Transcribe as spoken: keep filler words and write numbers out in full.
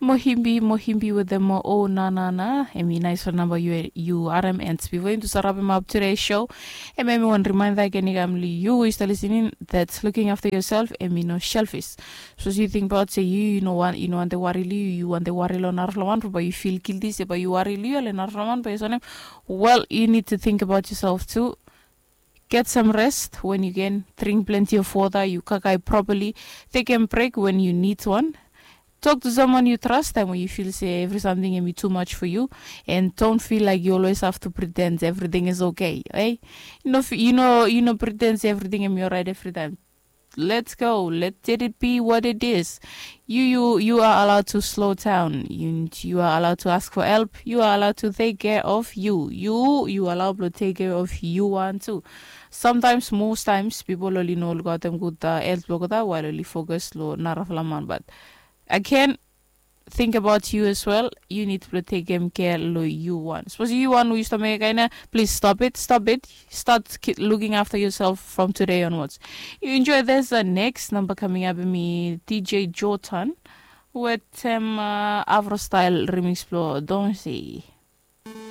Mohimbi mohimbi wetem mo o na na na. Em i nais wan namba yu yu harem and bifo yumi tu save rapem ap tude show, em em i wan rimainda gen i kam long yu we yu stap lisening, that's looking after yourself, em i no selfis. Sapos yu tingbaot se yu yu no wan yu no wante wari long yu yu wante wari long narafala wan, bae yu fil gilti se bae yu wari long yu ale narafala wan bae yu sonim. Well, you need to think about yourself too. Get some rest when you can. Drink plenty of water, you kakai properly. Take a break when you need one. Talk to someone you trust time when you feel say every something can be too much for you. And don't feel like you always have to pretend everything is okay, eh? You know, you know, you know, pretend say everything can be all right every time. Let's go. Let it be what it is. You you you are allowed to slow down. You you are allowed to ask for help. You are allowed to take care of you. You you allow blong take care of you one too. Sometimes, most times, people oli no lukaotem gud health blong olgeta while oli focus long narafala man, but again, think about you as well. You need blong tekem care long you one. Suppose you one we stop make kaina, please stop it, stop it. Start looking after yourself from today onwards. You enjoy this uh, next number coming up me D J Jordan with um, uh, Avro style remix blong Don't Say.